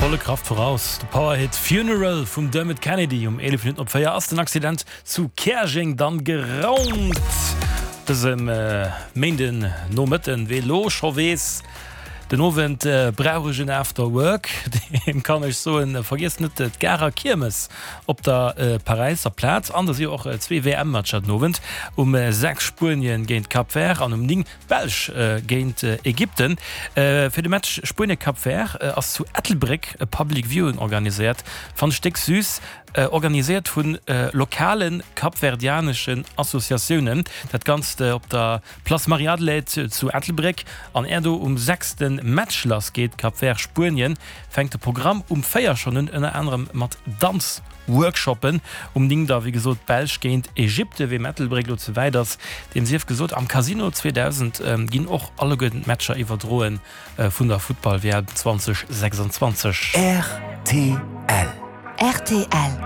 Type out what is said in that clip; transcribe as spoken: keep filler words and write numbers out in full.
Volle Kraft voraus, de Powerhit Funeral vum Dermot Kennedy. Um eelef Minutten op véier ass den Accident zu Käerjeng dann geraumt. Dësem Méinden Nomëtten. Wee lo scho weess, den Owend brauch ech en After Work, deem kann ech soen, vergiesst net d'Garer Kiermes op der Paräisser Plaz. An da si jo och zwee W M-Matcher den Owend, um sechs Spuenien géint Cap Vert an um néng d'Belsch géint Ägypten. Fir de Match Spuenie-Cap Vert ass zu Ettelbréck e Public Viewing organiséiert. Fannt ech déck süß. Organiséiert vu lokale kapverdianeschen Associatiounen. Dat Ganzt op der Place Marie-Adelheid zu Ettelbréck. An är do um sechs de Match lass geet, Cap Vert-Spuenien, fänkt de Programm um véier schonn un, ënner anerem mat Danz-Workshoppen. Um néng da wéi gesot d'Belsch géint Ägypten. Weem Ettelbréck lo ze wäit ass, deem sief gesot, am Casino zweedausend ginn och alleguerten d'Matcher iwwerdroen vun der Futtball-W M zweedausendsechsanzwanzeg. Rtl. Rtl.